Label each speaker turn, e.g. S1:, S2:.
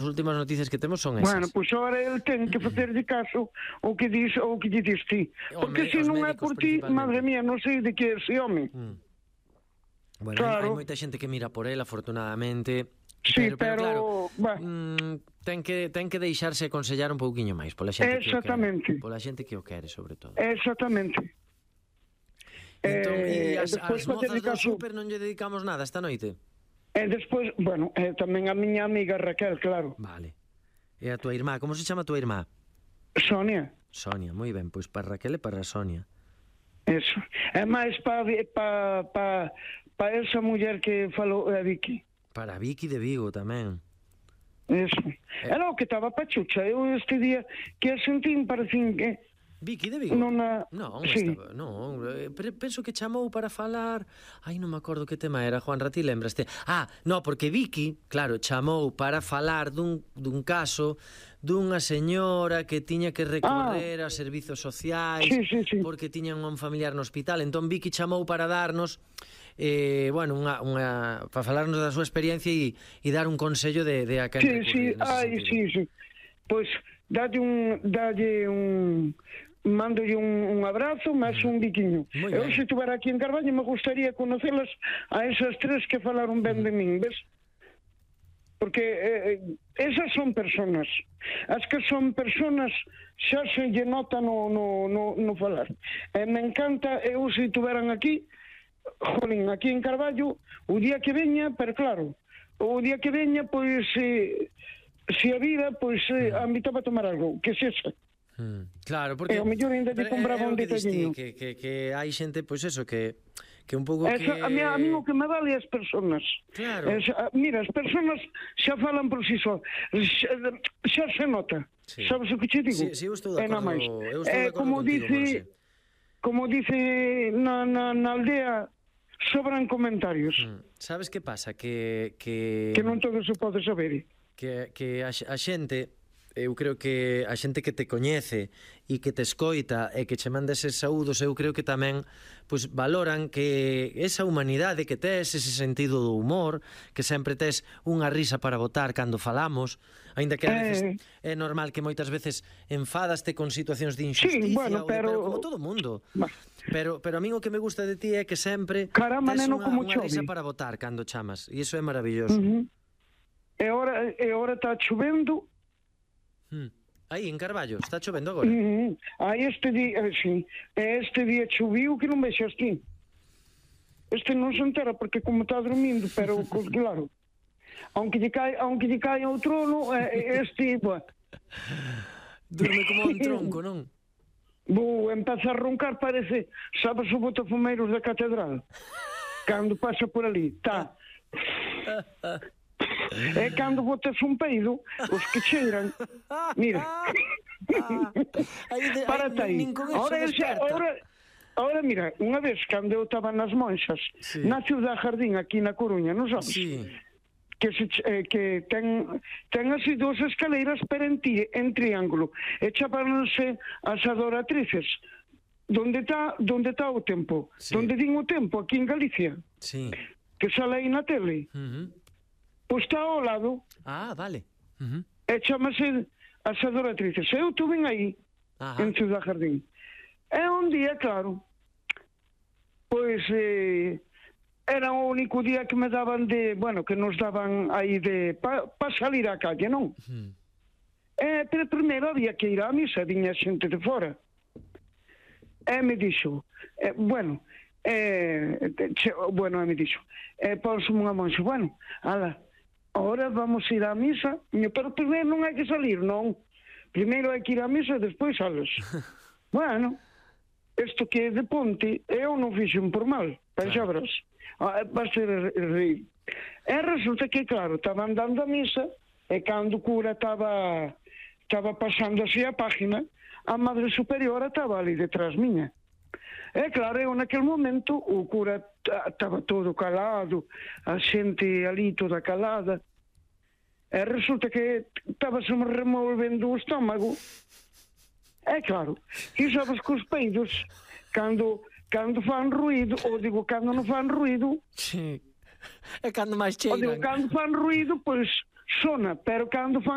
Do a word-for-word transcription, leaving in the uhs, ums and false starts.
S1: As últimas noticias que temos son esas.
S2: Bueno, pois agora ele ten que facerlle caso o que dis, o que lle dis ti. Porque se non é por ti, madre mía, non sei de que é ese home.
S1: Mm. Bueno,
S2: claro.
S1: hai, hai moita xente que mira por ele, afortunadamente.
S2: Sí,
S1: pero, pero,
S2: pero
S1: claro, mm, ten que ten que deixarse aconsellar un pouquiño máis pola xente que o quere. Pola xente que o quere, sobre todo.
S2: Exactamente.
S1: Entón,
S2: eh,
S1: e as, as mozas do
S2: caso...
S1: súper non lle dedicamos nada esta noite?
S2: E despois, bueno, eh, tamén a miña amiga Raquel, claro.
S1: Vale. E a tua irmá, como se chama a tua irmá?
S2: Sonia.
S1: Sonia, moi ben, pois para Raquel e para Sonia.
S2: Eso. É máis para pa, pa, pa esa muller que falou a Vicky.
S1: Para Vicky de Vigo tamén.
S2: Eso. Eh. Era o que estaba pachucha. Eu este día que a sentín parecín que...
S1: Vicky de Vigo?
S2: Non, a...
S1: non,
S2: sí.
S1: estaba, non, penso que chamou para falar. Ai, non me acordo que tema era, Juan Ratí, lembraste? Ah, no, porque Vicky, claro, chamou para falar dun, dun caso dunha señora que tiña que recorrer ah. a servizos sociais
S2: sí, sí, sí.
S1: porque tiñan un familiar no hospital. Entón Vicky chamou para darnos eh, bueno, unha, unha, para falarnos da súa experiencia e, e dar un consello de, de a quen
S2: sí,
S1: recurrir.
S2: Sí, ai, sí, sí. Pois dalle un dalle un mándolle un, un abrazo, máis un biquiño. Eu se estuvera aquí en Carballo me gustaría conocelas a esas tres que falaron ben de min, ves? Porque eh, esas son personas. As que son personas xa se lle nota no, no, no, no falar. E me encanta, eu se estuveran aquí, jolín, aquí en Carballo, o día que veña, pero claro, o día que veña, pois, eh, se a vida, pois, eh, a mí para tomar algo, que se xa.
S1: Mm, claro, porque
S2: e o mellor ainda te compraba un detalliño
S1: que, que, que hai xente, pois eso, que que un pouco
S2: que... A mí, a mí o que me vale as persoas.
S1: Claro.
S2: Es, mira, as persoas xa falan por si só. Xa, xa se nota. Sí. Sabes o que te digo?
S1: Sí, sí, eu estou de acordo, eu estou de acordo
S2: como
S1: contigo,
S2: dice,
S1: Monse.
S2: Como dice na, na, na aldea, sobran comentarios.
S1: Mm. Sabes que pasa? Que... Que,
S2: que non todo se pode saber.
S1: Que, que a, a xente... Eu creo que a xente que te coñece e que te escoita e que che manda eses saúdos, eu creo que tamén pois valoran que esa humanidade que tes, ese sentido do humor, que sempre tes unha risa para botar cando falamos, aínda que a veces eh... é normal que moitas veces enfadaste con situacións de injusticia,
S2: sí, bueno, pero...
S1: de, pero como todo mundo. Bah. Pero, pero a mí o que me gusta de ti é que sempre
S2: Caramba,
S1: tes
S2: neno,
S1: unha,
S2: como
S1: unha risa
S2: chove
S1: para botar cando chamas, e iso é maravilloso.
S2: Uh -huh. E ora, e ora está chovendo.
S1: Hmm. Aí, en Carballo, está chovendo agora?
S2: Mm, aí este día, sí, este día choviu que non vexas ti. Este non se entera porque como está dormindo, pero claro, aunque lle cae, aunque lle cae ao trono, este, bueno.
S1: Durme como un tronco, non?
S2: Bo, empeza a roncar, parece, sabes o botafumeiros da catedral? Cando pasa por ali, tá. É cando botas un peido, os que cheiran. Mira. Párate aí. Ahora, ahora, mira, unha vez cando eu estaba nas Monxas, sí, na Ciudad Jardín, aquí na Coruña, non sabes?
S1: Sí.
S2: Que, se, eh, que ten, ten así dous escaleiras pero en, ti, en triángulo. E chamáronse as adoratrices. Donde está donde está o tempo? Sí. Donde din o tempo, aquí en Galicia.
S1: Sí.
S2: Que sale aí na tele.
S1: Uh -huh.
S2: Pois está ao lado.
S1: Ah, vale. Uh -huh.
S2: E chamase as adoratrices. Eu tuve aí, Ajá. en Ciudad Jardín. E un día, claro, pois eh, era o único día que me daban de, bueno, que nos daban aí de para pa salir á calle, non? Uh -huh. E pero primeiro había que ir á misa, viña xente de fora. E me dixo, eh, bueno, eh, che, bueno, e me dixo, e eh, pónsome unha monxa, bueno, ala, ahora vamos a ir á misa, pero primeiro non hai que salir, non. Primeiro hai que ir á misa e despois sales. Bueno, isto que é de ponte, eu non fixen por mal, pensabras. Ah, vas ter reír. E resulta que, claro, estaban dando a misa, e cando o cura estaba estaba pasando así a página, a Madre Superiora estaba ali detrás miña. E claro, eu naquele momento o cura estaba todo calado, a xente ali toda calada, e resulta que estaba se me removendo o estómago. E claro, e sabes que os peidos cando, cando fan ruído, ou digo, cando non fan ruído,
S1: sí, é cando máis cheiran,
S2: ou digo, cando fan ruído, pois sona, pero cando fan